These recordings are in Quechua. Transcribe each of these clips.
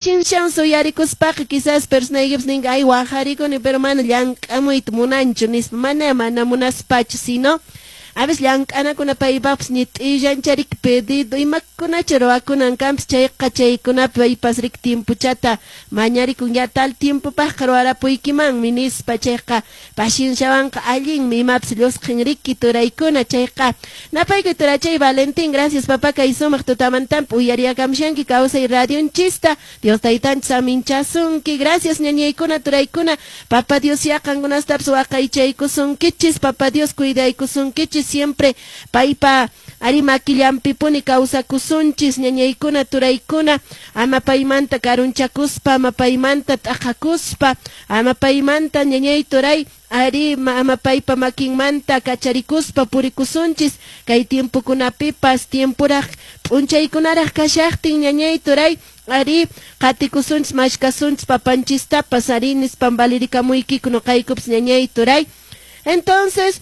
Chinshan suyarikuspaqa quizás personaykipas ninqa ay wajarikuni pero mana llank'amuyta munanchu nispa, mana mana munaspachu, sino a veces llank'anakuna paypaqpas ñit'illancharik pedido imakunacha ruwakunan kanpas, chayqa chaykunapi paypas rik tiempochata mañarikun ya tal tiempopaqqa ruwarapuykimanmi nispa, chayqa pacienciawanqa allinmi imapas llusqin riki turaykuna, chayqa napaykuy turachay Valentín, gracias papá kay sumaq tutamantampi uyariyakamshanki kawsay radionchista, Dios taytanchis aminchasunki, gracias ñañaykuna turaykuna, Papa Dios ya qankunastapas waqaychaykusunkichis, Papa Dios cuidaykusunkichis, siempre paypa ari makillampipuni kawsakusunchis, ñañaykuna turaykuna, ama paymanta karunchakuspa, ama paymanta t'aqakuspa, ama paymanta ñañay turay, ari ama paypa makinmanta kacharikuspa purikusunchis, kay tiempokunapipas tiemporaq p'unchaykunaraq kashaqtin ñañay turay, ari qatikusunchis mashkasunchis papanchistapas ari nispan valirikamuykiku nuqaykupas ñañay turay. Entonces,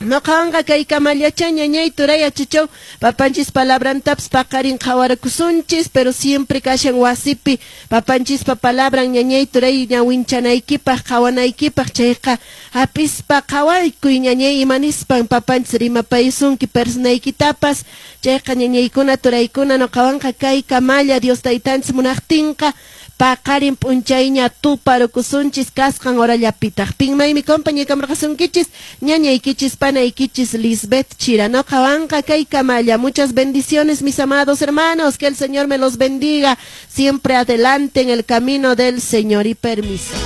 noqawanqa kay kamallacha ñañay turay achachaw papanchis palabrantapas paqarin qhawarakusunchis, pero siempre kashan wasipi papanchispa palabran ñañay turay ñawinchanaykipaq qhawanaykipaq, chayqa hapispa qhawaykuy ñañay imanispan papanchis rimapaysunki personaykitapas, chayqa ñañaykuna turaykuna noqawanqa kay kamalla Dios taytanchis munaqtinqa paqarin p'unchayña tuparukusunchis kasqan horallapitaq. Pinmaymi compañekamurqasunkichis ñañaykichis panaykichis Lisbeth Chira. Noqawanqa kay kamalla. Muchas bendiciones, mis amados hermanos. Que el Señor me los bendiga siempre adelante en el camino del Señor y permiso.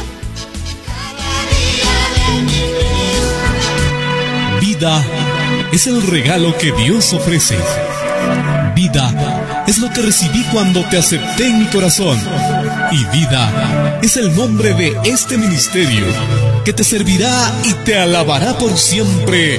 Vida es el regalo que Dios ofrece. Vida es lo que recibí cuando te acepté en mi corazón. Y vida es el nombre de este ministerio que te servirá y te alabará por siempre.